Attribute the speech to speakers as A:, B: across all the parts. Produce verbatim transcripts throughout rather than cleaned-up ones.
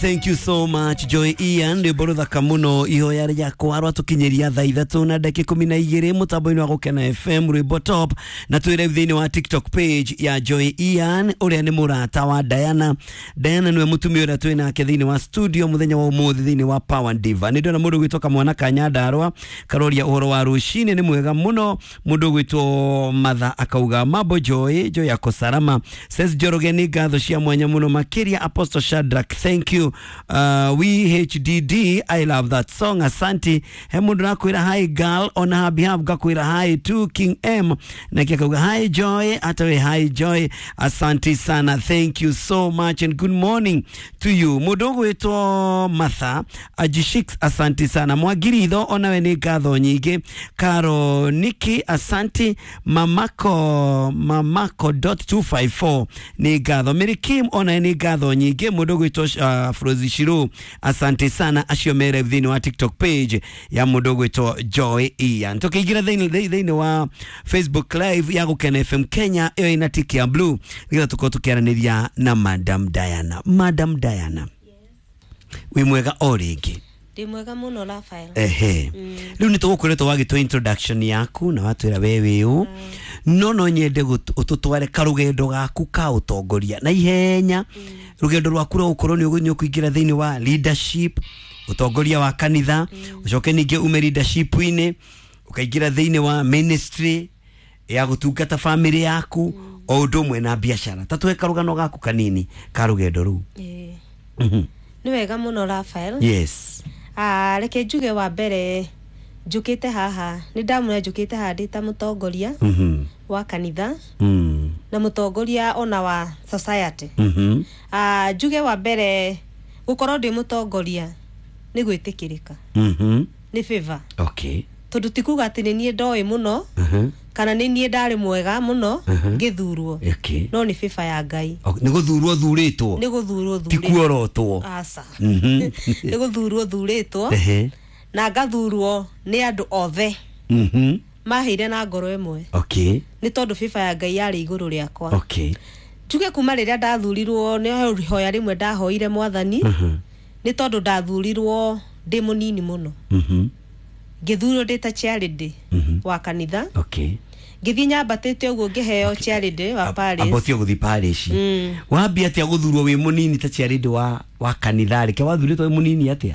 A: Thank you so much, Joy Ian. Rwĩmbo rũthaka mũno, ihoya rĩakwa rwatũkinyĩria thaa ithatũ na ndagĩka ikũmi na igĩrĩ mũtambo-inĩ wa Gũkena F M, rwĩmbo top. Na twĩ live thĩinĩ wa TikTok page ya Joy Ian, ũrĩa nĩ mũrata wa Diana. Diana nĩwe mũtumia ũrĩa twĩ nake thĩinĩ wa studio mũthenya wa ũmũthĩ thĩinĩ wa Power Diva. Nĩ ndĩrona mũndũ ũgwĩtwo kamwana ka Nyandarũa karoria ũhoro wa rũcinĩ, nĩ mwega mũno. Mũndũ ũgwĩtwo Matha akauga, "Mambo Joy?" Joy ako salama. Says Njoroge, nĩ ngatho cia mwanya mũno makĩria. Apostle Shadrack, thank you. uh, we H D D, I love that song, asante. He mũndũ rakwĩra, "Hi girl." On her behalf ngakwĩra hi to King M, nake akauga, "Hi Joy." Hata we, hi Joy, asante sana, thank you so much and good morning to you. Mũndũ ũgwĩtwo Martha Ajishix, asante sana. Mwagiritho, onawe nĩ ngatho nyingĩ. Karo Niki, asante. Mamako, mamako dot two five four, nĩ ngatho. Mary Kim, onawe nĩ ngatho nyingĩ. Mũndũ ũgwĩtwo uh, Frozi Shiru, asante sana. Acio mere thĩinĩ wa TikTok page ya mũndũ ũgwĩtwo Joy Ian. Tũkĩingĩra thĩinĩ thĩinĩ wa Facebook Live ya Gũkena F M Kenya, ĩyo ĩna tiki ya blue, nĩgetha tũkorwo tũkĩaranĩria na Madam Diana. Madam Diana, wĩ mwega o rĩngĩ?
B: Ndĩ mwega mũno, Rafael.
A: Ehe, rĩu nĩ tũgũkoretwo wagĩtwo introduction yaku na watwĩra we wĩ ũ, no no nyende gũt- ũtũtware karũgendo gaku ka ũtongoria na ihenya, rũgendo rwaku rwa gũkorwo nĩ ũgũ- nĩ ũkũingĩra thĩinĩ wa leadership, ũtongoria wa kanitha, ũcoke ningĩ ume leadership-inĩ ũkaingĩra thĩinĩ wa ministry ya gũtungata family yaku o ũndũ ũmwe na biacara. Ta tũhe karũgano gaku kanini ka rũgendo rũu.
B: Ĩĩ.
A: Mhm.
B: Nĩ wega mũno, Rafael.
A: Yes.
B: Ah, reke njuge wa mbere njũkĩte haha nĩ ndamũra njũkĩte haha ndĩ ta mũtongoria
A: Mhm.
B: wa kanitha
A: Mm.
B: na mũtongoria ona wa society.
A: Mhm.
B: Ah, njuge wa mbere gũkorwo ndĩ mũtongoria nĩ gwĩtĩkĩrĩka,
A: Mhm.
B: nĩ favor,
A: Okay.
B: tondũ ti kuga atĩ nĩ niĩ ndoĩ mũno
A: Mhm.
B: kana nĩ niĩ ndarĩ mwega mũno
A: Mhm.
B: ngĩthurwo,
A: Okay.
B: no nĩ favor ya Ngai.
A: Ok, nĩ gũthurwo thurĩtwo.
B: Nĩ gũthurwo
A: Ti
B: thurĩtwo.
A: kuorotwo.
B: Aca.
A: Mhm.
B: Nĩ gũthurwo thurĩtwo
A: Ehe.
B: na ngathurwo nĩ andũ othe
A: Mhm.
B: maheire na ngoro ĩmwe,
A: Okay.
B: nĩ tondũ favor ya Ngai yarĩ igũrũ rĩakwa.
A: Okay.
B: Njuge kuma rĩrĩa ndathurirwo nĩ ihoya rĩmwe ndahoire Mwathani,
A: Mhm.
B: nĩ tondũ ndathurirwo ndĩ mũnini mũno.
A: Mhm.
B: Ngĩthurwo ndĩ ta chairlady
A: Mhm.
B: wa kanitha.
A: Okay.
B: Ngĩthiĩ nyambatĩte ũguo ngĩheo chairlady wa parish.
A: Ambotio gũthiĩ parish.
B: Mm.
A: Wambia atĩa gũthurwo wĩ mũnini ta chairlady wa wa kanitha? Reke wathurĩtwo wĩ mũnini atĩa?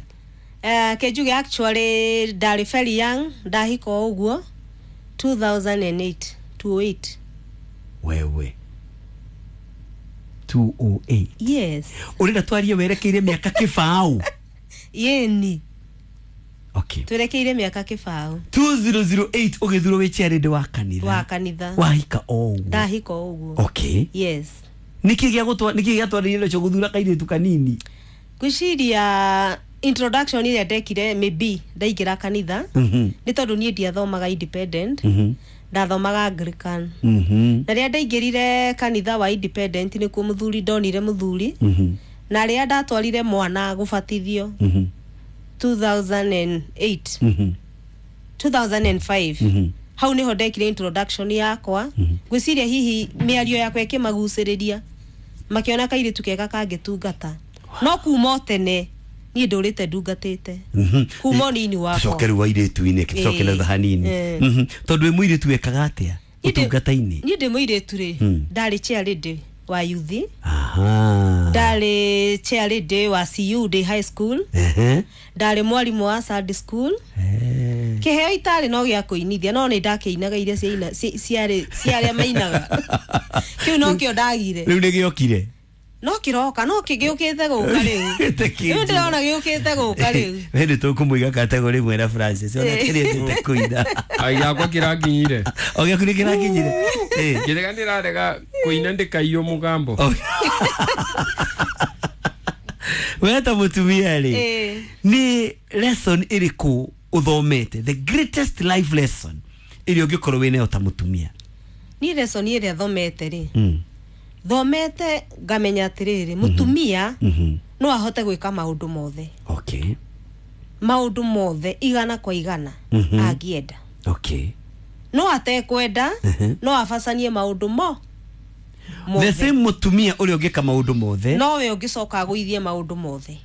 B: Eh, ke njuge actually ndarĩ very young ndahika o ũguo two thousand eight, two oh eight.
A: Wewe, two oh eight?
B: Yes.
A: Ũrenda twarie werekeire mĩaka kĩbaũ?
B: Yeni.
A: Okay.
B: Twerekeire mĩaka kĩbaũ.
A: two thousand eight ũgĩthurwo wĩ chairlady wa kanitha.
B: Wa kanitha.
A: Wahika o ũguo?
B: Ndahika o ũguo.
A: Okay.
B: Yes.
A: Nĩkĩ gĩa gũtwa nĩkĩ gĩatwarĩire ũcio gũthura kairĩtu kanini?
B: Ngwĩciria introduction ĩrĩa ndekire maybe ndaingĩra kanitha,
A: Mhm.
B: nĩ tondũ niĩ ndiathomaga independent,
A: Mhm.
B: ndathomaga Anglican,
A: Mhm.
B: na rĩrĩa ndaingĩrire kanitha wa independent nĩkuo mũthuri ndonire mũthuri,
A: Mhm.
B: na rĩrĩa ndatwarire mwana gũbatithio
A: Mhm.
B: two thousand eight,
A: Mhm.
B: two thousand five,
A: Mhm.
B: hau niho ndekire introduction yakwa. Ngwĩciria hihi mĩario yakwa ĩkĩmagucĩrĩria, makĩona kairĩtu kega kangĩtungata, no kuma o tene niĩ ndũrĩte ndungatĩte
A: Mhm.
B: kuma ũnini wakwa.
A: Tucoke rĩu airĩtu-inĩ, tucoke na
B: Ĩĩ.
A: thutha hanini.
B: Ĩĩ.
A: Mhm. Tondũ wĩ mũirĩtu wekaga atĩa
B: Niĩ ndĩ-
A: ũtungata-inĩ?
B: Niĩ ndĩ mũirĩtu rĩ,
A: Mm.
B: ndarĩ chairlady wa youth,
A: Aha.
B: ndarĩ chairlady wa C U ndĩ high school,
A: Ehe.
B: ndarĩ mwarimũ wa Sunday school.
A: Eh.
B: Kĩheo itarĩ no gĩa kũinithia, no nĩ ndakĩinaga iria ciaina ci- ciarĩ cia arĩa mainaga, kĩu no kĩo ndagire.
A: Rĩu nĩ gĩokire?
B: No kĩroka, no kĩgĩũkĩte gũka rĩu.
A: Gĩte.
B: Rĩu ndĩrona gĩũkĩte gũka rĩu.
A: We nĩ tũkũmũiga kategori ĩmwe na Francis, ona
B: Ĩĩ.
A: kĩrĩa kũina.
C: Ai, gĩakwa kĩrakinyire.
A: O gĩaku nĩ kĩrakinyire? Ĩĩ.
C: Ngĩrega ndĩrarega kũina ndĩkaiywo mũgambo.
A: Oh. We ta mũtumia rĩ,
B: Ĩĩ.
A: nĩ lesson ĩrĩkũ ũthomete, the greatest life lesson ĩrĩa ũngĩkorwo wĩ nayo ta mũtumia?
B: Niĩ lesson ĩrĩa thomete rĩ,
A: Mm.
B: thomete ngamenya atĩrĩrĩ, mũtumia
A: Mhm.
B: no ahote gwĩka maũndũ mothe,
A: okay
B: maũndũ mothe igana kwa igana,
A: Mhm.
B: angĩenda.
A: Okay
B: No atekwenda,
A: Mhm.
B: no abacanie maũndũ mo
A: The
B: mothe.
A: same mũtumia ũrĩa ũngĩka maũndũ mothe,
B: Nowe ũngĩcoka agũithie maũndũ mothe.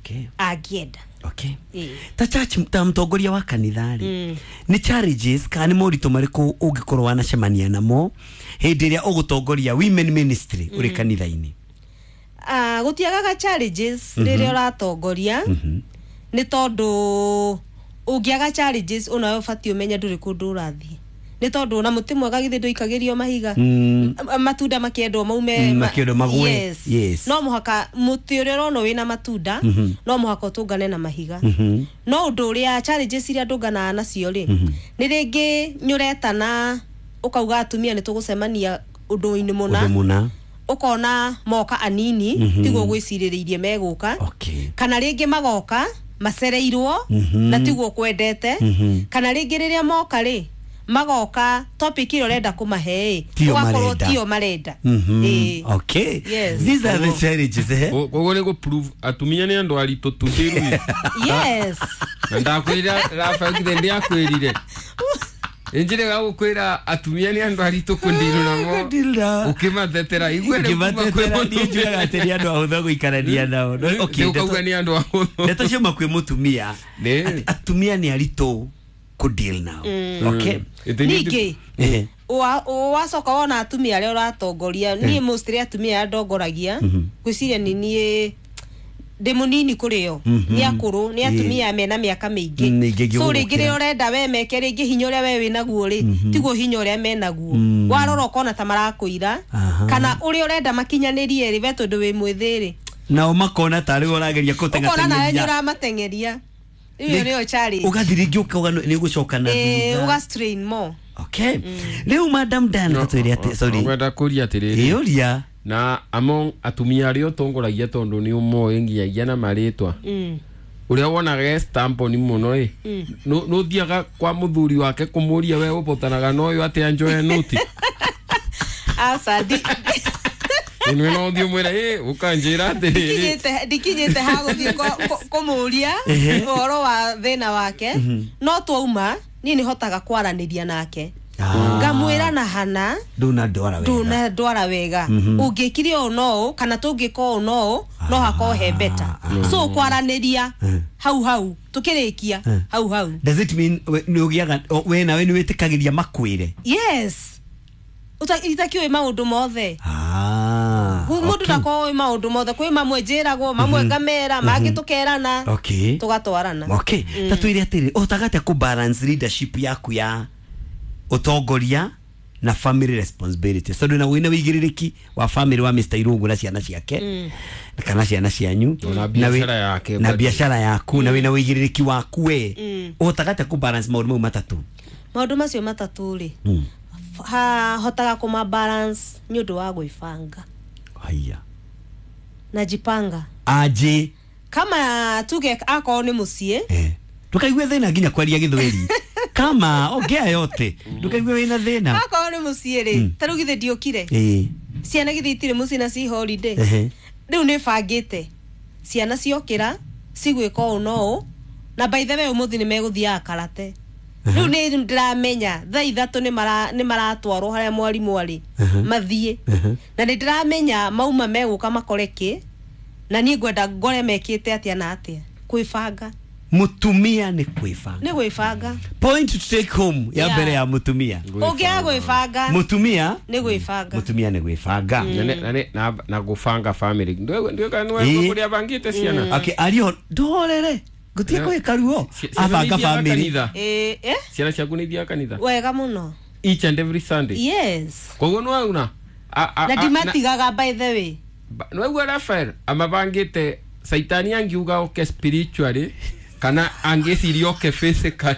A: Okay.
B: Angĩenda.
A: Okay.
B: Ĩĩ.
A: Ta church, ta mũtongoria wa kanitha rĩ, nĩ challenges kana nĩ moritũ marĩkũ ũngĩkorwo wanacemania namo hĩndĩ ĩrĩa ũgũtongoria women ministry ũrĩ kanitha-inĩ?
B: Ah, gũtiagaga challenges rĩrĩa ũratongoria, nĩ tondũ ũngĩaga challenges onawe ũbatiĩ ũmenye ndũrĩ kũndũ ũrathiĩ, nĩ tondũ ona mũtĩ mwega githĩ ndũikagĩrio mahiga?
A: Mm.
B: M- matunda makĩendwo maume.
A: Mm,
B: ma-
A: makĩendwo magwe.
B: Yes.
A: Yes.
B: No mũhaka mũtĩ ũrĩa ũrona wĩna matunda no mũhaka ũtũngane na mahiga.
A: Mhm.
B: No ũndũ ũrĩa challenges iria ndũnganaga nacio rĩ, nĩ rĩngĩ nĩ ũretana ũkauga atumia nĩ tũgũcemania ũndũ-inĩ mũna,
A: Ũndũ mũna.
B: Ũkona moka anini, tiguo gwĩcirĩrĩirie megũka,
A: Okay.
B: kana rĩngĩ magoka macereirwo na tiguo kwendete,
A: Mhm.
B: kana rĩngĩ rĩrĩa moka rĩ, magoka topic ĩrĩa ũrenda kũmahe ĩ,
A: Tio
B: ũgakorwo
A: marenda.
B: tio marenda.
A: Mhm.
B: Ĩĩ.
A: Okay.
B: Yes.
A: These are the challenges, eh?
C: Koguo nĩ gũ-prove atumia nĩ andũ aritũ tundĩrui.
B: Yes.
C: Na ndakwĩra Rafael, ndiakwĩrire injire gagũkwĩra atumia nĩ andũ aritũ kũndiru namo.
A: Kũndiru.
C: Ũkĩmatetera igue rĩu kuma kwĩ
A: Ngĩmatetera, niĩ
C: mũtumia.
A: njugaga atĩ nĩ andũ ahũthũ gũikarania nao. No, okay,
C: Rĩu ũkauga
A: ndeto-
C: nĩ andũ ahũthũ.
A: Ndeto ciauma kwĩ mũtumia
C: Nĩ.
A: atĩ atumia nĩ aritũ kũdeal nao. Okay.
C: Ĩtĩ nĩ-
B: Ningĩ
A: Ehe.
B: wa- wacoka wona atumia arĩa ũratongoria, niĩ mostly atumia arĩa ndongoragia ngwĩciria nĩ niĩ ndĩ mũnini kũrĩ o, nĩ akũrũ, nĩ atumia mena mĩaka mĩingĩ.
A: Mm, mĩingĩ
B: So
A: gũgũkĩra.
B: rĩngĩ rĩrĩa ũrenda we meke, rĩngĩ hinya ũrĩa we wĩnaguo rĩ, tiguo hinya ũrĩa menaguo. Warora ũkona ta marakũira,
A: Aha.
B: kana ũrĩa ũrenda makinyanĩrie rĩ, we tondũ wĩ mwĩthĩ rĩ,
A: Nao makona tarĩ we ũrageria
B: ũkona nawe nĩ
A: kũteng'ateng'eria.
B: ũramateng'eria. Rĩu ĩyo nĩyo challenge.
A: Ũgathiĩ rĩngĩ ũkauga nĩ ũgũcoka na
B: Ĩĩ,
A: thutha.
B: ũga strain more.
A: Okay. Rĩu Madam Diana, tatwĩre atĩ, sorry.
C: Ngwenda kũria atĩrĩrĩ.
A: Ĩũria.
C: Na among atumia arĩa ũtongoragia, tondũ nĩ ũmoĩ nginyagia na marĩtwa,
B: Mm.
C: ũrĩa wonaga e stamp-on mũno ĩ, nũ thiaga kwa mũthuri wake kũmũria we ũbotanaga na ũyũ atĩa njoe nũti?
B: Aca, ndi-
C: Ĩnwe no ũthiĩ ũmwĩre ĩ ũkanjĩra atĩrĩrĩ.
B: ndikinyĩte ndikinyĩte ha gũthiĩ kũ- kũ- kũmũria ũhoro wa thĩna wake, no twauma niĩ nĩ hotaga kwaranĩria nake,
A: Ah.
B: ngamwĩra na hana
A: ndũnandwara wega.
B: Ndũnandwara wega, ũngĩkire ũũ no ũũ, kana tũngĩka ũũ no ũũ, no hakorwo he beta. So kwaranĩria hau hau tũkĩrĩkia hau hau.
A: Does it mean we- nĩ ũgĩaga o- we nawe nĩ wĩtĩkagĩria makwĩre?
B: Yes. Uta- itakĩũĩ maũndũ mothe.
A: Ah,
B: Mũndũ
A: okay.
B: ndakorwo ũĩ maũndũ mothe. Kwĩ mamwe njĩragwo, mamwe ngamera, mangĩ tũkerana,
A: Okay.
B: tũgatwarana.
A: Okay, ta twĩre atĩrĩ, ũhotaga atĩa kũ balance leadership yaku ya ũtongoria na family responsibility, tondũ na wĩna wĩigĩrĩrĩki wa family wa Mister Irungu na ciana ciake kana ciana cianyu,
C: Na
A: wĩ-
C: biacara yake,
A: na
C: bado.
A: biacara yaku, na wĩna wĩigĩrĩrĩki waku, we ũhotaga atĩa kũ balance maũndũ mau matatũ?
B: Maũndũ macio matatũ rĩ,
A: Mm.
B: ha hotaga kũma balance nĩ ũndũ wa gwĩbanga.
A: Haya.
B: Najipanga.
A: Aje?
B: Kama tuge akorwo nĩ mũciĩ,
A: Eh. Ndũkaigue thĩna nginya kwaria gĩthweri, kama ongea yote, ndũkaigue wĩna thĩna.
B: Akorwo nĩ mũciĩ rĩ, ta rĩu githĩ ndiũkire,
A: Ĩĩ.
B: ciana githĩ itirĩ mũciĩ na ci holiday?
A: Ehe.
B: Rĩu nĩ bangĩte ciana ciokĩra cigwĩka ũũ no ũũ, na by the way ũmũthĩ nĩ megũthiaga karate. Rĩu nĩ ndĩramenya thaa ithatũ nĩ mara- nĩ maratwarwo harĩa mwarimũ arĩ mathiĩ, na nĩ ndĩramenya mauma megũka makore kĩ, na niĩ ngwenda ngore mekĩte atĩa na atĩa. Kwĩbanga.
A: Mũtumia nĩ kwĩbanga.
B: Nĩ gwĩbanga.
A: Point to take home ya
B: Yeah.
A: mbere ya mũtumia.
B: Ũngĩaga gwĩbanga.
A: Mũtumia.
B: Nĩ gwĩbanga.
A: Mũtumia nĩ gwĩbanga.
C: Na nĩ- na nĩ- na na gũbanga family. Ndio
A: Ĩĩ.
C: kũrĩa bangĩte ciana.
A: Okay, ario ndorere ngutie kwĩka ruo.
C: Ci- ciana
A: Abanga
C: nĩ ithiaga
A: family.
C: kanitha?
B: Ĩĩ, eh?
C: Ciana ciaku nĩ ithiaga kanitha?
B: Wega mũno.
C: Each and every Sunday?
B: Yes.
C: Koguo nĩwauna
B: Na ndimatigaga, by the way.
C: Nĩwaigua Rafael amabangĩte, saitani angiuga oke spiritually kana angĩciria oke physically.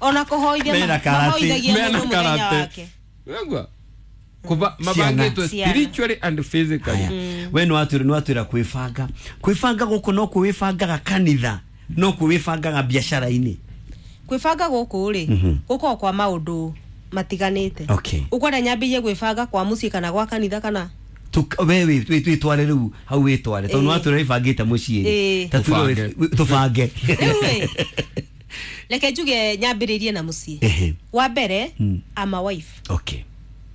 B: Ona kũhoithia
A: Mena
B: ma-
A: karate.
B: mahoithagia
C: Mena
B: mũndũ mũthenya
C: karate.
B: wake.
C: Nĩwaigua Kuba- mabangĩtwe
B: Ciana.
C: spiritually and physically.
A: Haya. We nĩwatwĩra nĩwatwĩra kwĩbanga. Kwĩbanga gũkũ no kwĩbangaga kanitha, no kwĩbangaga biacara-inĩ?
B: Kwĩbanga gũkũ rĩ, gũkoragwo kwa maũndũ matiganĩte.
A: Okay.
B: Ũkwenda nyambĩrie gwĩbanga kwa mũciĩ kana gwa kanitha kana?
A: Tuk- we wĩ- wĩ- wĩtware rĩu hau, wĩtware tondũ
B: Ĩĩ.
A: nĩwatwĩra wĩbangĩte mũciĩ.
B: Ĩĩ.
A: Ta tuge
C: Tũbange.
A: wĩ- tũbange.
B: Rĩu ĩ, reke njuge nyambĩrĩrie na mũciĩ.
A: Ehe.
B: Wa mbere, I'm a wife,
A: okay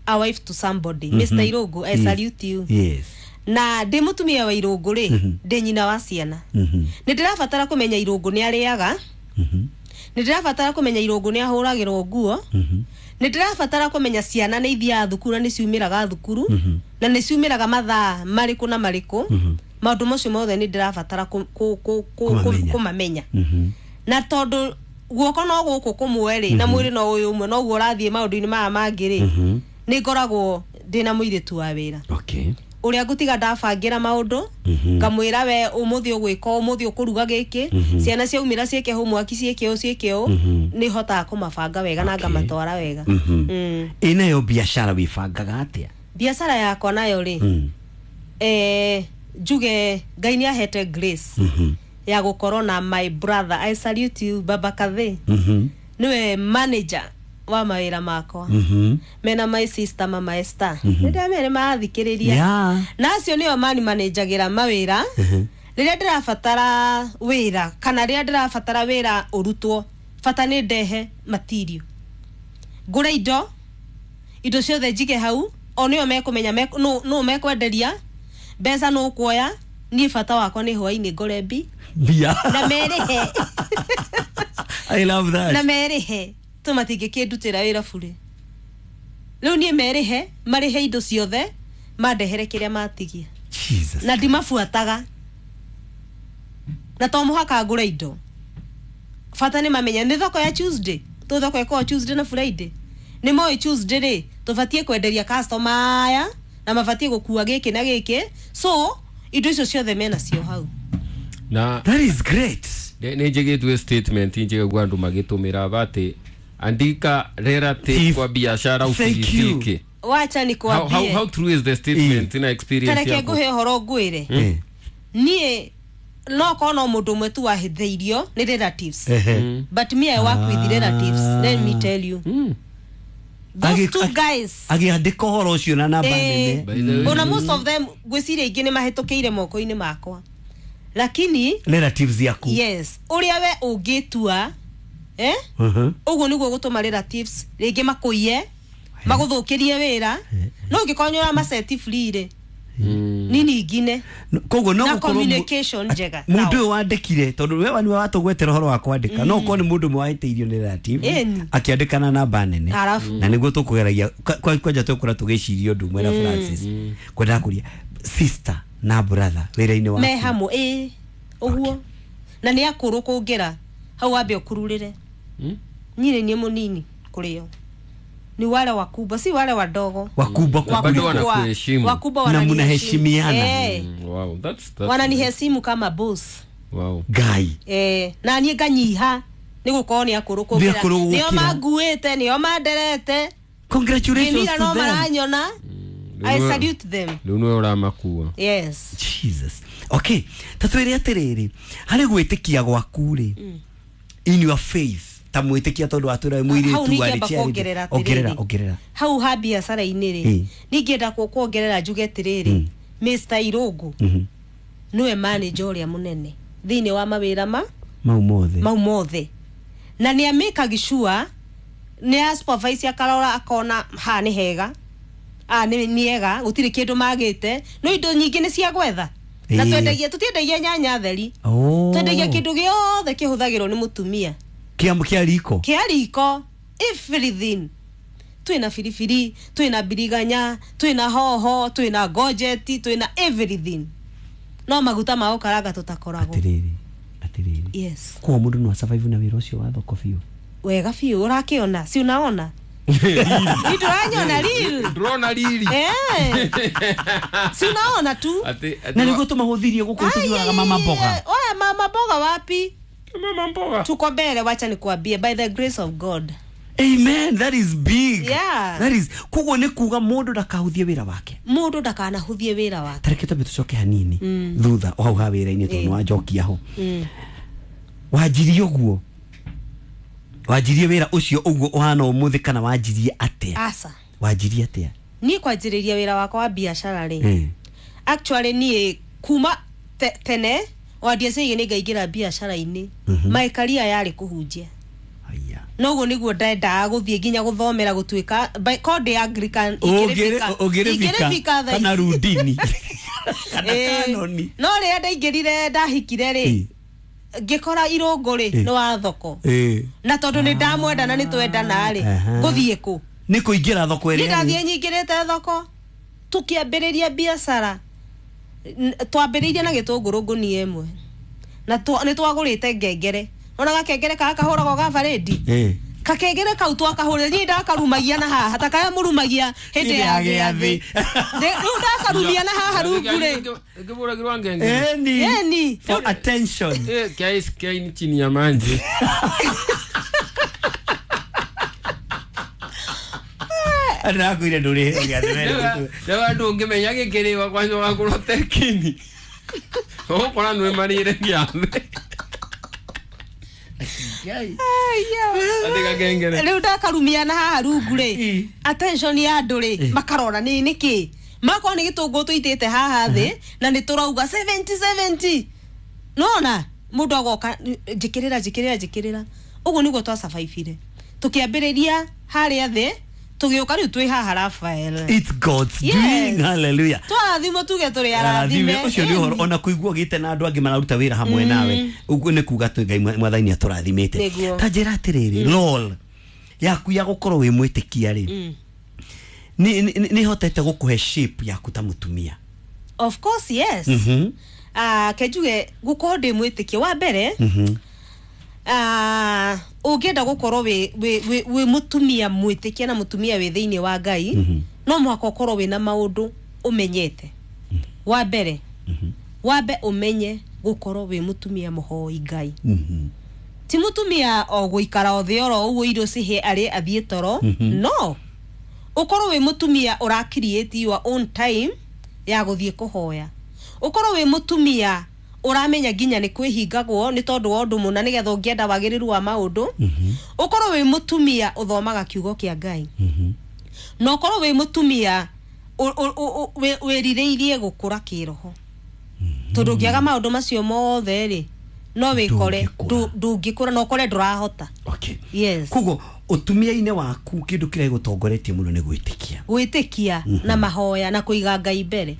B: a wife to somebody, Mister Irungu, I salute you.
A: Yes.
B: Na ndĩ mũtumia wa Irũngũ rĩ, ndĩ nyina wa ciana. Nĩ ndĩrabatara kũmenya Irũngũ nĩ arĩaga. Nĩ ndĩrabatara kũmenya Irũngũ nĩ ahũragĩrwo nguo. Nĩ ndĩrabatara kũmenya ciana nĩ ithiaga thukuru na nĩ ciumĩraga thukuru na nĩ ciumĩraga mathaa marĩkũ na marĩkũ. Maũndũ macio mothe nĩ ndĩrabatara kũ- kũ- kũ- kũ-
A: Kũmamenya.
B: kũmamenya. Na tondũ guoko no gũkũ kũmwe rĩ, na mwĩrĩ no ũyũ ũmwe, noguo ũrathiĩ maũndũ-inĩ maya mangĩ rĩ, nĩ ngoragwo ndĩna mũirĩtu wa wĩra
A: Okay.
B: ũrĩa ngũtiga ndabangĩra maũndũ, ngamwĩra we ũmũthĩ ũgwĩka ũũ, ũmũthĩ ũkũruga gĩkĩ, ciana ciaumĩra ciĩke homework, ciĩke ũũ, ciĩke ũũ. Nĩ hotaga kũmabanga wega na
A: Okay.
B: ngamatwara wega.
A: Mhm.
B: Mm.
A: Ĩ nayo biacara wĩbangaga atĩa?
B: Biacara yakwa nayo rĩ,
A: Mm.
B: eh, njuge Ngai nĩ ahete grace
A: Mhm.
B: ya gũkorwo na my brother. I salute you, Baba Kathe.
A: Mhm.
B: Niwe manager wa mawĩra makwa.
A: Mhm.
B: Mena my sister Mama Esther, nĩ ndamere marathikĩrĩria.
A: Yeah.
B: Na acio nĩo mani manenjagĩra mawĩra rĩrĩa ndĩrabatara wĩra, kana rĩrĩa ndĩrabatara wĩra ũrutwo, bata nĩ ndehe material, ngũre indo, indo ciothe njige hau, o nĩo mekũmenya mek- nũ nũ mekwenderia, mbeca nũ kuoya. Niĩ bata wakwa nĩ hwainĩ ngore mbi
A: Mbia.
B: na merĩhe.
A: I love that.
B: Na merĩhe to matingĩkĩndutĩra wĩra burĩ. Rĩu niĩ merĩhe, marĩhe indo ciothe, mandehere kĩrĩa matigia.
A: Jesus.
B: Na ndimabuataga, na to mũhaka ngũre indo, bata nĩ mamenya nĩ thoko ya Tuesday tũ thoko ĩkoragwo Tuesday na Friday. Nĩ moĩ Tuesday rĩ, tũbatiĩ kwenderia customer aya na mabatiĩ gũkua gĩkĩ na gĩkĩ, so indo icio ciothe menacio hau.
C: Na
A: That is great.
C: nä njä gä statement njä gua andå magä tå mä ra atä andika relative
A: If-
C: kwa biashara
A: Thank you.
C: ufilisike.
B: Wacha
C: how, how,
B: nikwambie.
C: how true is the statement na experience
B: Tareke
C: yako?
B: ngũhe ũhoro ngwĩre.
A: Eh.
B: Niĩ no korwo no mũndũ ũmwe tu wahĩthĩirio nĩ relatives,
A: Ehe.
B: but me, I work with relatives, let me tell you.
C: Mm.
B: Those
A: Agi-
B: two
A: agi-
B: guys,
A: agĩandĩka ũhoro ũcio na namba
B: Eh,
A: nene.
C: By the way-
B: ona most of them ngwĩciria ingĩ nĩ mahĩtũkĩire moko-inĩ makwa, lakini
A: Relatives yaku.
B: Yes, ũrĩa we ũngĩtua, eh?
A: Mhm.
B: Ũguo nĩguo gũtũma relatives rĩngĩ makũiye, magũthũkĩrie wĩra, no ũngĩkorwo nĩ ũramaceti free rĩ,
C: Mm.
B: nini ingine.
A: No- koguo no
B: Na
A: gũkorwo mu-
B: communication njega
A: mũndũ
B: nao.
A: ũyũ wandĩkire, tondũ we nĩwe watũgwetera ũhoro wa kwandĩka, no ũkorwo nĩ mũndũ ũmwe wahĩtĩirio nĩ relative
B: Ĩni.
A: akĩandĩka na namba nene.
B: Arabu.
A: Na nĩguo tũkũgeragia kwa- kwa- kwanja tũkũra tũgĩciria ũndũ ũmwe na Francis kwendaga kũria sister na brother wĩra-inĩ waku.
B: Me hamwe ĩ ũguo, na nĩ akũrũ kũngĩra hau wambe ũkururĩre.
C: Mm.
B: Niĩ nĩ niĩ mũnini kũrĩo, ni wale wakubwa, si wale wadogo.
A: Wakubwa
C: Bado
A: kukuliko.
C: wanakuheshimu.
B: Wakubwa
A: Na
B: wananiheshimu.
A: mnaheshimiana.
B: Eh,
C: Mm, wow, that's, that's
B: wananiheshimu kama boss.
C: Wow.
A: Ngai.
B: Eh, na niĩ nganyiha nĩ gũkorwo nĩ akũrũ
A: Nĩ
B: kũngĩra.
A: akũrũ
B: Nĩo
A: gũkĩra.
B: manguĩte, nĩo manderete.
A: Congratulations
B: Ngĩmira
A: to
B: no
A: them.
B: maranyona. I
C: Rĩu nĩwe-
B: salute them.
C: Rĩu nĩwe ũramakua.
B: Yes.
A: Jesus. Okay, ta twĩre atĩrĩrĩ, harĩ gwĩtĩkia gwaku rĩ, in your faith, ta mwĩtĩkia, tondũ watwĩra wĩ
B: Hau
A: mũirĩtu
B: ningĩamba
A: warĩ charity.
B: kuongerera
A: Ongerera,
B: atĩrĩrĩ.
A: ongerera.
B: Hau ha biacara-inĩ rĩ,
A: Mm.
B: ningĩenda ku- kuongerera njuge atĩrĩrĩ, Mister Irũngũ
A: Mhm.
B: nĩwe manager ũrĩa mũnene thĩinĩ wa mawĩra ma
A: mau mothe.
B: Mau mothe, na nĩ amĩkagi sure, nĩ a supervise, akarora akona ha nĩ hega, a nĩ nĩ ega, gũtirĩ kĩndũ magĩte, no indo nyingĩ nĩ cia gwetha na
A: Ĩĩ.
B: twendagia, tũtiendagia nyanya theri.
A: Oh.
B: Twendagia kĩndũ gĩothe kĩhũthagĩrwo nĩ mũtumia.
A: Kĩa kĩa riko.
B: Kĩa riko, everything. Twĩna biribiri, twĩna biriganya, twĩna hoho, twĩna gojeti, twĩna everything, no maguta ma gũkaranga tũtakoragwo.
A: Atĩrĩrĩ, atĩrĩrĩ,
B: Yes.
A: koguo mũndũ no asurvive na wĩra ũcio wa thoko biũ?
B: Wega biũ, ũrakĩona, si unaona ni ndũranyona real?
C: Ndũrona riri.
B: Eh. Si unaona tu.
C: Atĩ- atĩ
A: Na
C: wa-
A: nĩguo tũmahũthirie gũkũ tũthiaga mama mboga.
B: Oya, mama mboga wapi?
C: Mama mboga.
B: Tuko mbele, wacha nikuambie, by the grace of God.
A: Amen, that is big.
B: Yeah.
A: That is, koguo nĩ kuga mũndũ ndakahũthie wĩra wake.
B: Mũndũ ndakanahũthie wĩra wake.
A: Tareke twambe tũcoke hanini thutha o hau ha wĩra-inĩ, tondũ
B: Eh.
A: nĩ wanjokia ho.
B: Mm.
A: Wanjirie ũguo, wanjirie wĩra ũcio ũguo ũhana ũmũthĩ, kana wanjirie atĩa?
B: Aca.
A: Wanjirie atĩa?
B: Niĩ kwanjĩrĩria wĩra wakwa wa biacara rĩ,
A: Eh.
B: actually niĩ kuma te, tene wandiaciaige nĩ ngaingĩra biacara-inĩ, my career yarĩ kũhunjia.
A: Haya.
B: Noguo nĩguo ndendaga gũthiĩ nginya gũthomera gũtuĩka by- ko ndĩ Anglican.
A: Ũngĩrĩ-
B: ingĩrĩbika
A: ũngĩrĩbika
B: thaa
A: kana
B: ici.
A: rundini. Kana
B: Ĩĩ.
A: kanoni.
B: No rĩrĩa ndaingĩrire ndahikire rĩ,
A: Ĩĩ.
B: ngĩkora irũngũ rĩ
A: Ĩĩ.
B: nĩ wa thoko,
A: Ĩĩ.
B: na tondũ nĩ ndamwenda na nĩ twendana rĩ,
A: Aha.
B: ngũthiĩ kũ?
A: Nĩ kũingĩra thoko
B: Niĩ
A: ĩrĩa
B: ndathiĩ nyingĩrĩte thoko, tũkĩambĩrĩria biacara. N- twambĩrĩirie na gĩtũngũrũ ngũnia ĩmwe, na twa- nĩ twagũrĩte ngengere, ona gakengere kaya kahũragwo ga barĩndi.
A: Ĩĩ.
B: Kakengere kau twakahũrĩre, niĩ ndakarumagia na haha ta karĩa mũrumagia hĩndĩ ya gĩathĩ. Ndĩ- rĩu ndakarumia na haha rungu rĩ.
C: Ngĩbũragĩrwa ngengere.
A: Eni.
B: Eni.
A: For attention.
C: Eh, kiasi kiaini chini ya maji.
A: Ndĩrakwĩire ndũrĩ gĩathĩ we.
C: Rĩu andũ ũngĩmenya gĩkĩrĩwa kwanza wakorwo tekini ũgũkora nĩ marĩire gĩathĩ atĩ gakengere.
B: Rĩu ndakarumia na haha rungu rĩ,
A: Ĩ.
B: attention ya andũ rĩ, makarora nĩ nĩkĩ, makorwo nĩ gĩtũngũrũ tũitĩte haha thĩ na nĩ tũrauga seventy seventy, nona mũndũ agoka, njĩkĩrĩra, njĩkĩrĩra, njĩkĩrĩra. Ũguo nĩguo twacabaibire, tũkĩambĩrĩria harĩa thĩ, tũgĩũka rĩu twĩ haha, Rafael.
A: It's God's
B: Yes.
A: doing. Hallelujah.
B: Twarathimwo, tuge tũrĩ arathime.
A: Arathime. Ũcio nĩ ũhoro ona kũigua ũgĩte na andũ angĩ mararuta wĩra hamwe nawe ũguo nĩ kuga atĩ Ngai mwathani atũrathimĩte.
B: Nĩguo.
A: Ta njĩra atĩrĩrĩ, lol yaku ya gũkorwo wĩ mwĩtĩkia rĩ, nĩ nĩ- nĩ hotete gũkũhe shape yaku ta mũtumia?
B: Of course, yes.
A: Mhm.
B: Ah, ke njuge gũkorwo ndĩ mwĩtĩkia wa mbere,
A: Mhm.
B: ah, ũngĩenda gũkorwo wĩ wĩ- wĩ wĩ mũtumia mwĩtĩkia na mũtumia wĩ thĩinĩ wa Ngai, no mũhaka ũkorwo wĩna maũndũ ũmenyete. Wa mbere, wambe ũmenye gũkorwo wĩ mũtumia mũhoi Ngai.
A: Mhm.
B: Ti mũtumia o gũikara o thĩ oro ũguo, irio cihe arĩ athiĩ toro. No ũkorwo wĩ mũtumia ũra create your own time ya gũthiĩ kũhoya, ũkorwo wĩ mũtumia ũramenya nginya nĩ kwĩhingagwo nĩ tondũ wa ũndũ mũna nĩgetha ũngĩenda wagĩrĩru wa maũndũ, ũkorwo wĩ mũtumia ũthomaga kiugo kĩa Ngai, na ũkorwo wĩ mũtumia ũ- ũ- ũ- wĩ- wĩrirĩirie gũkũra kĩroho, tondũ ũngĩaga maũndũ macio mothe rĩ, no wĩkore
A: Ndũngĩkũra.
B: ndũ- ndũngĩkũra na ũkore ndũrahota.
A: Okay.
B: Yes.
A: Koguo ũtumia-inĩ waku kĩndũ kĩrĩa gĩgũtongoretie mũno nĩ gwĩtĩkia.
B: Gwĩtĩkia na mahoya na kũiga Ngai mbere.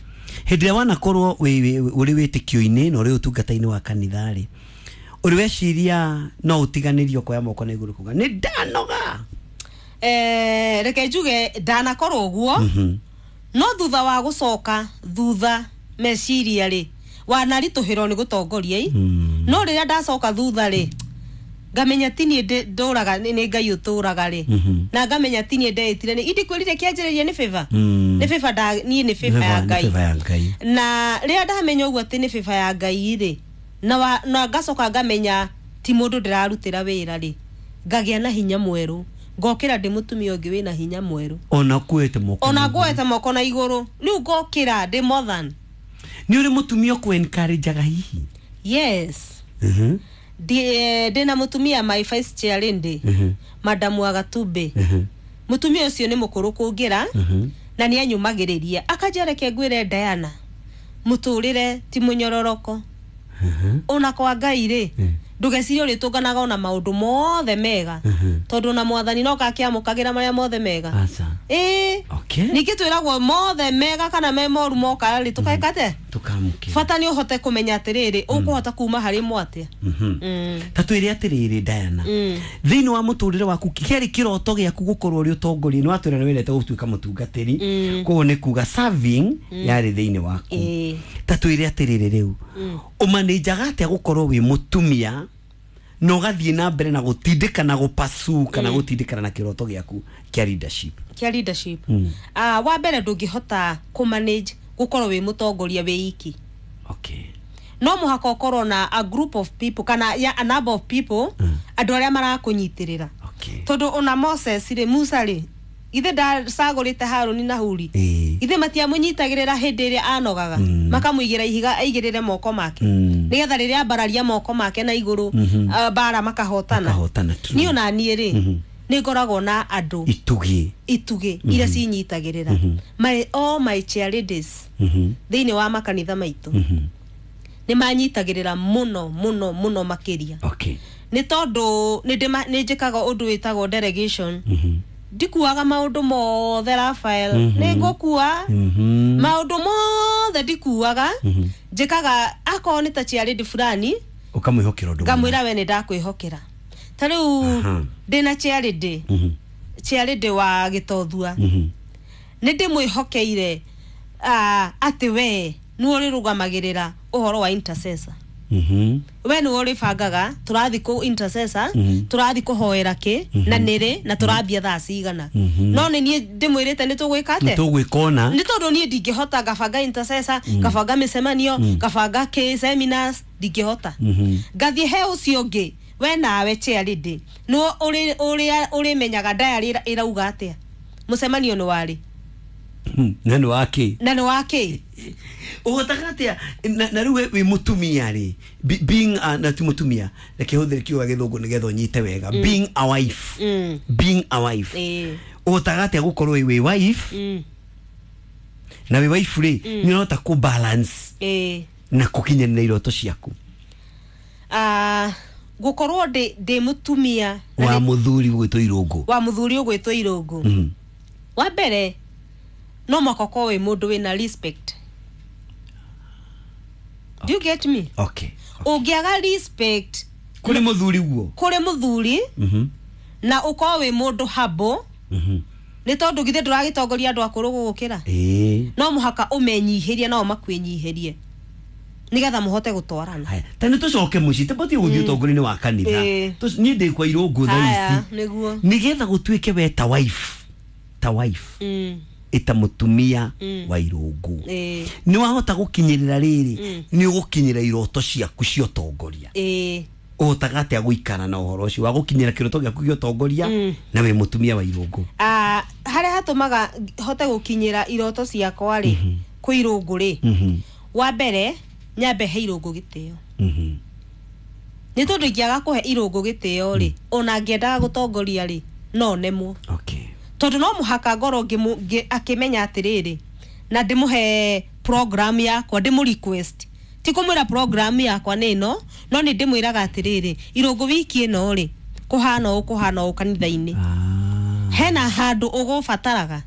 A: Hĩndĩ ĩrĩa wanakorwo wĩ- wĩ- ũrĩ wĩtĩkio-inĩ na ũrĩ ũtungata-inĩ wa kanitha rĩ, ũrĩ weciria no ũtiganĩrio kuoya moko na igũrũ kuga nĩ ndanoga?
B: Eh, reke njuge ndanakorwo ũguo, no thutha wa gũcoka thutha meciria rĩ, wanaritũhĩrwo nĩ gũtongoria i, no rĩrĩa ndacoka thutha rĩ, ngamenya ti niĩ ndĩ- ndũraga, nĩ nĩ Ngai ũtũraga rĩ, na ngamenya ti niĩ ndeĩtire, nĩ indikwĩrire kĩanjĩrĩria nĩ favor,
A: Mm.
B: nĩ favor nda niĩ nĩ favor ya
A: Nĩ
B: Ngai.
A: favor ya Ngai.
B: Na rĩrĩa ndamenya ũguo atĩ nĩ favor ya Ngai rĩ, na, wa, na ngacoka ngamenya ti mũndũ ndĩrarutĩra wĩra rĩ, ngagĩa na hinya mwerũ, ngokĩra ndĩ mũtumia ũngĩ wĩna hinya mwerũ.
A: Ona kuĩte moko
B: Ona
A: na igũrũ.
B: nguoete moko na igũrũ, rĩu ngokĩra ndĩ more than.
A: Nĩ ũrĩ mũtumia ũkũ encourageaga hihi?
B: Yes.
A: Mhm.
B: Ndi- ndĩna mũtumia, my vice chair lady,
A: Mhm.
B: Madamu Agatumbe.
A: Mhm.
B: Mũtumia ũcio nĩ mũkũrũ kũngĩra,
A: Mhm.
B: na nĩ anyũmagĩrĩria akanjĩra, reke ngwĩre Diana, mũtũrĩre ti mũnyororoko.
A: Mhm.
B: Ona kwa Ngai rĩ,
A: Mm.
B: ndũgecirie ũrĩtũnganaga ona maũndũ mothe mega,
A: Mhm.
B: tondũ ona mwathani no kakĩamũkagĩra marĩa mothe mega.
A: Aca.
B: Ĩĩ.
A: Okay.
B: Ningĩ twĩragwo mothe mega kana me moru moka rĩ, tũkaĩkate.
A: Tũkamũkĩra.
B: Bata nĩ ũhote kũmenya atĩrĩrĩ, ũkũhota kuma harĩ mo atĩa.
A: Mhm.
B: Mm.
A: Ta twĩre atĩrĩrĩ, Diana,
B: Mm.
A: thĩinĩ wa mũtũrĩre waku kĩarĩ kĩroto gĩaku gũkorwo ũrĩ ũtongoria? Nĩ watwĩra nĩ wendete gũtuĩka mũtungatĩri,
B: Mm.
A: koguo nĩ kuga serving yarĩ thĩinĩ waku.
B: Ĩĩ.
A: Ta twĩre atĩrĩrĩ, rĩu ũmanĩnjaga atĩa gũkorwo wĩ mũtumia na ũgathiĩ na mbere na gũtindĩka na gũpasu kana gũtindĩkana na kĩroto gĩaku kĩa leadership?
B: Kĩa leadership.
A: Mm.
B: Ah, wa mbere, ndũngĩhota kũmanage gũkorwo wĩ mũtongoria wĩ iki.
A: Okay
B: no mũhaka ũkorwo na a group of people kana ya, a number of people,
A: Mm.
B: andũ arĩa marakũnyitĩrĩra,
A: okay
B: tondũ ona Moses rĩ, Musa rĩ, ithe ndacagũrĩte Haruni na Huri?
A: Ĩĩ.
B: Ithe matiamũnyitagĩrĩra hĩndĩ ĩrĩa anogaga,
A: Mm.
B: makamũigĩra ihiga aigĩrĩre moko make,
A: Mm.
B: nĩgetha rĩrĩa ambararia moko make na igũrũ,
A: Mhm.
B: ah, mbara makahotana.
A: Makahotana, true.
B: Niĩ ona niĩ rĩ,
A: Mhm.
B: nĩ ngoragwo na andũ,
A: itugĩ.
B: Itugĩ iria cinyitagĩrĩra, my all my chair ladies
A: Mhm.
B: thĩinĩ wa makanitha maitũ,
A: Mhm.
B: nĩ manyitagĩrĩra mũno mũno mũno makĩria,
A: okay
B: nĩ tondũ nĩ ndĩma- nĩ njĩkaga ũndũ wĩtagwo delegation.
A: Mhm.
B: Ndikuaga maũndũ mothe, Rafael.
A: Mhm.
B: Nĩ ngũkua
A: Mhm.
B: maũndũ mothe, ndikuaga.
A: Mhm.
B: Njĩkaga akorwo nĩ ta chairlady fulani,
A: Ũkamwĩhokera ũndũ mũna.
B: Ngamwĩra, we nĩ ndakwĩhokera. Ta rĩu
A: Aha.
B: ndĩna chairlady,
A: Mhm.
B: chairlady wa Gĩtothua.
A: Mhm.
B: Nĩ ndĩmwĩhokeire ah, atĩ we nĩwe ũrĩrũgamagĩrĩra ũhoro wa intercessor.
A: Mhm.
B: We nĩwe ũrĩbangaga tũrathiĩ kũ intercessor,
A: Mhm.
B: tũrathiĩ kũhoera kĩ na nĩrĩ na tũrambia thaa cigana.
A: Mhm.
B: No nĩ niĩ ndĩmwĩrĩte nĩ tũgwĩka
A: Nĩ
B: atĩa.
A: tũgwĩka ũna.
B: Nĩ tondũ niĩ ndingĩhota ngabanga intercessor, ngabanga mĩcemanio, ngabanga kĩ seminars, ndingĩhota.
A: Mhm.
B: Ngathiĩ he ũcio ũngĩ, we nawe chairlady nĩwe ũrĩ- ũrĩa ũrĩmenyaga diary ĩra- ĩrauga atĩa, mũcemanio nĩ warĩ
A: Hmm, na nĩ wa kĩ.
B: Na nĩ wa kĩ.
A: Ũhotaga atĩa na na rĩu we wĩ mũtumia rĩ, be- being a, na ti mũtumia, reke hũthĩre kiugo gĩa gĩthũngũ nĩgetha ũnyite wega, being a wife,
B: Mm.
A: being a wife,
B: Ĩĩ.
A: ũhotaga atĩa gũkorwo wĩ wife,
B: Mm.
A: na wĩ wife rĩ, nĩ ũrahota kũ balance
B: Ĩĩ.
A: na kũkinyanĩra iroto ciaku?
B: Ah, gũkorwo ndĩ ndĩ mũtumia na
A: Wa
B: nĩ-
A: mũthuri ũgwĩtwo Irũngũ.
B: Wa mũthuri ũgwĩtwo Irũngũ.
A: Mhm.
B: Wa mbere no mũhaka ũkorwo wĩ mũndũ wĩna respect. Do you get me?
A: Okay.
B: Ũngĩaga respect
A: Kũrĩ mũthuri guo.
B: Kũrĩ mũthuri,
A: Mhm.
B: na ũkorwo wĩ mũndũ humble,
A: Mhm.
B: nĩ tondũ githĩ ndũragĩtongoria andũ akũrũ gũgũkĩra?
A: Ĩĩ.
B: No mũhaka ũmenyihĩrie nao makwĩnyihĩrie nĩgetha mũhote gũtwarana.
A: Haya, ta nĩ tũcoke mũciĩ, tũbatiĩ gũthiĩ ũtongoria-inĩ wa kanitha.
B: Ĩĩ.
A: Tũc- niĩ ndĩ kwa Irũngũ thaa
B: Haya,
A: ici.
B: Nĩguo.
A: Nĩgetha gũtuĩke we ta wife ta wife
B: Mm,
A: ĩta mũtumia
B: Mm.
A: wa Irũngũ,
B: ĩĩ,
A: nĩ wahota gũkinyĩrĩra rĩrĩ,
B: Mm.
A: nĩ ũgũkinyĩra iroto ciaku cia ũtongoria.
B: Ĩĩ.
A: Ũhotaga atĩa gũikara na ũhoro ũcio wa gũkinyĩra kĩroto gĩaku gĩa ũtongoria
B: Mm.
A: na wĩ mũtumia wa Irũngũ?
B: Ah, harĩa hatũmaga hote gũkinyĩra iroto ciakwa rĩ, kwĩ Irũngũ rĩ,
A: Mhm,
B: wa mbere nyambe he Irũngũ gĩtĩo,
A: mhm.
B: nĩ tondũ ingĩaga kũhe Irũngũ gĩtĩo rĩ, ona ngĩendaga gũtongoria rĩ, no nemwo.
A: Okay.
B: Tondũ no mũhaka ngorwo ngĩmũ- ngĩ- akĩmenya atĩrĩrĩ, na ndĩmũhe program yakwa, ndĩmũ request, ti kũmwĩra program yakwa nĩ ĩno, no nĩ ndĩmwĩraga atĩrĩrĩ, Irũngũ, wiki ĩno rĩ, kũhana ũũ, kũhana ũũ kanitha-inĩ,
A: Ah.
B: hena handũ ũgũbataraga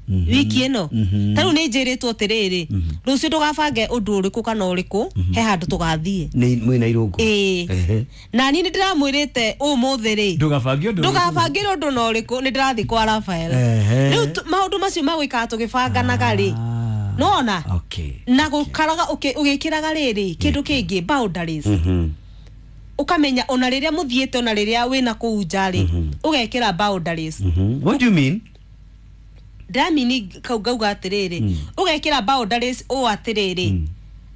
A: Mhm.
B: wiki ĩno.
A: Mhm.
B: Ta rĩu nĩ njĩrĩtwo atĩrĩrĩ, rũciũ ndũgabange ũndũ ũrĩkũ kana ũrĩkũ, he handũ tũgathiĩ.
A: Nĩ mwĩna Irũngũ.
B: Ĩĩ.
A: Ehe.
B: Na niĩ nĩ ndĩramwĩrĩte ũmũthĩ rĩ,
A: Ndũgabange ũndũ.
B: Ndũgabangĩre ũndũ na ũrĩkũ, nĩ ndĩrathiĩ kwa Rafael.
A: Ehe.
B: Rĩu tu- maũndũ macio magwĩkaga tũgĩbanganaga rĩ,
A: Ah.
B: nona
A: Okay.
B: na gũkaraga ũkĩ- ũgĩkĩraga rĩrĩ kĩndũ kĩngĩ, boundaries.
A: Mhm.
B: Ũkamenya ona rĩrĩa mũthiĩte, ona rĩrĩa wĩna kũu nja rĩ, ũgekĩra boundaries.
A: Mhm. What do you mean?
B: Ndĩramini kau ngauga atĩrĩrĩ, ũgekĩra boundaries ũũ atĩrĩrĩ,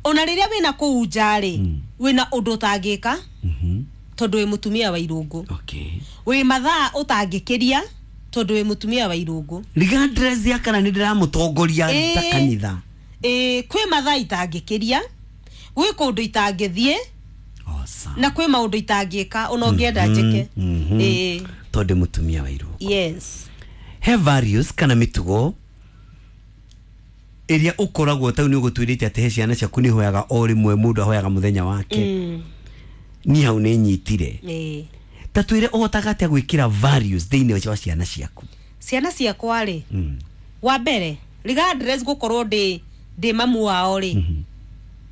B: ona rĩrĩa wĩna kũu nja rĩ, wĩna ũndũ ũtangĩka
A: Mhm.
B: tondũ wĩ mũtumia wa Irũngũ,
A: Okay.
B: wĩ mathaa ũtangĩkĩria tondũ wĩ mũtumia wa Irũngũ.
A: Regardless ya kana nĩ ndĩramũtongoria ta
B: Ĩĩ.
A: kanitha.
B: Ĩĩ, kwĩ mathaa itangĩkĩria, gwĩ kũndũ itangĩthiĩ,
A: Awesome.
B: na kwĩ maũndũ itangĩka ona ũngĩenda njĩke.
A: Mhm.
B: Ĩĩ.
A: Tondũ mũtumia wa Irũngũ.
B: Yes.
A: He values kana mĩtugo ĩrĩa ũkoragwo tau nĩ ũgũtwĩrĩte atĩ he ciana ciaku nĩ hoyaga o rĩmwe, mũndũ ahoyaga mũthenya wake.
B: Mm.
A: Niĩ hau nĩ nyitire.
B: Ĩĩ.
A: Ta twĩre, ũhotaga atĩa gwĩkĩra values thĩinĩ wa ciana ciaku?
B: Ciana ciakwa rĩ,
A: Mm.
B: wa mbere regardless gũkorwo ndĩ ndĩ mamu wao rĩ,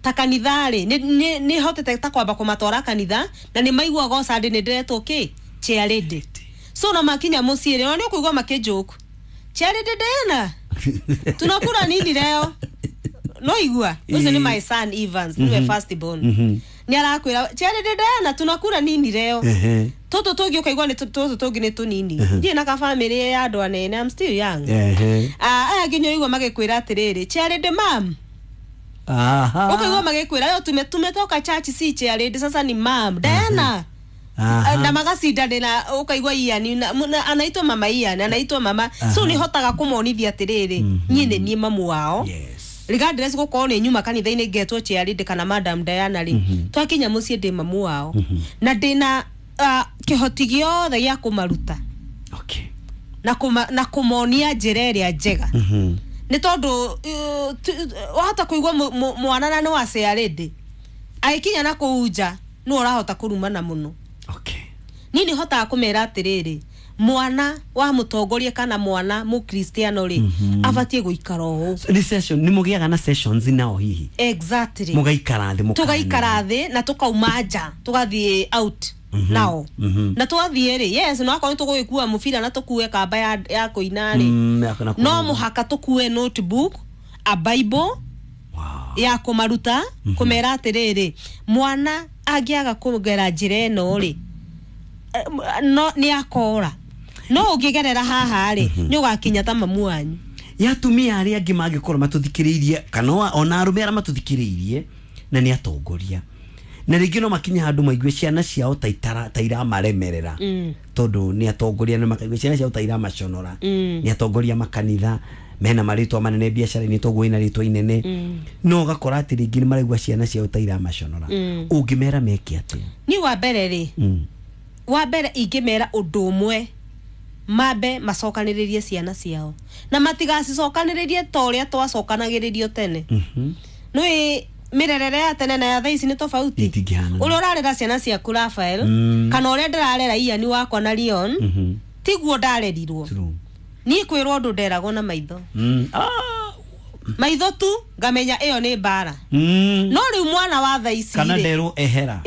B: ta kanitha rĩ, nĩ- nĩ nĩ hotete ta kwamba kũmatwara kanitha na nĩ maiguaga o Sunday nĩ ndĩretwo kĩ chairlady. So na makinya mũciĩ rĩ, ona nĩ ũkũigua makĩnjoke, "Chairlady Diana, tunakula nini leo?" No igua ũcio nĩ my son Evans, nĩwe first born, nĩ arakwĩra, "Chairlady Diana, tunakula nini leo?"
A: Ehe.
B: Tũtũ tũngĩ ũkaigua nĩ tũ- tũtũ tũngĩ nĩ tũnini, ndirĩ na kabamĩrĩ ya andũ anene, I'm still young.
A: Ehe.
B: Ah, aya nginya ũigua magĩkwĩra atĩrĩrĩ, "Chairlady mam."
A: Aha.
B: Ũkaigua magĩkwĩra yo tume tumetoka church, si chairlady, sasa ni Mam Diana.
A: Aha.
B: Na magacindanĩra, ũkaigua Ian na- na- anaitwo mama Ian, anaitwo mama. So nĩ hotaga kũmonithia atĩrĩrĩ, niĩ nĩ niĩ mamu wao,
A: Yes.
B: regardless gũkorwo nĩ nyuma kanitha-inĩ ngetwo chairlady kana Madam Diana rĩ, twakinya mũciĩ ndĩ mamu wao na ndĩna ah, kĩhoti gĩothe gĩa kũmaruta
A: Okay.
B: na kũma, na kũmonia njĩra ĩrĩa njega,
A: Mhm.
B: nĩ tondũ uh, tu- wahota kũigua mũ- mũ- mwana na nĩ wa chairlady, agĩkinya na kũu nja nĩ ũrahota kũrumana mũno.
A: Okay.
B: Niĩ nĩ hotaga kũmera atĩrĩrĩ, Mwana wa mũtongoria kana mwana mũkristiano rĩ, abatiĩ gũikara ũũ.
A: Nĩ session, nĩ mũgĩaga na sessions nao hihi?
B: Exactly.
A: Mũgaikara thĩ?
B: Tugaikara thĩ na tukauma nja, tugathiĩ out nao na twathiĩ rĩ, yes, no akorwo tũgũgĩkua mũbira na tũkue kamba ya, ya kũina rĩ,
A: Mm, ya na
B: no mũhaka tũkue notebook, a bible
A: Wow.
B: ya kũmaruta, kũmera atĩrĩrĩ, mwana angĩaga kũgera njĩra ĩno rĩ, eh, no nĩ akora, no ũngĩgerera haha rĩ, nĩ ũgakinya ta mamu wanyu.
A: Ya atumia arĩa angĩ mangĩkorwo matũthikĩrĩirie kana o- ona arũme arĩa matũthikĩrĩirie na nĩ atongoria, na rĩngĩ no makinye handũ maigue ciana ciao ta itara ta iramaremerera,
B: Mm.
A: tondũ nĩ atongoria, nĩ makaigua ciana ciao ta iramaconora,
B: Mm.
A: nĩ atongoria makanitha mena marĩtwa manene biacara-inĩ, toguo ina rĩtwa inene, no ũgakora atĩ rĩngĩ nĩ maraigua ciana ciao ta iramaconora,
B: Mm.
A: ũngĩmera meke atĩa?
B: Niĩ wa mbere rĩ,
A: Mm.
B: wa mbere ingĩmera ũndũ ũmwe, mambe macokanĩrĩrie ciana ciao na matigacicokanĩrĩrie ta ũrĩa twacokanagĩrĩrio tene.
A: Mhm.
B: Nĩ mĩrerere ya tene na ya thaa ici nĩ tofauti.
A: Itingĩhanana.
B: Ũrĩa ũrarera ciana ciaku, Rafael,
A: Mm.
B: kana ũrĩa ndĩrarera Ian wakwa na Leon,
A: Mhm.
B: tiguo ndarerirwo.
A: True.
B: Niĩ kwĩrwo ũndũ nderagwo na maitho.
A: Mm. Ah.
B: Maitho tu ngamenya ĩyo nĩ mbara.
A: Mm.
B: No rĩu mwana wa thaa ici
A: Kana
B: rĩ,
A: nderwo ehera.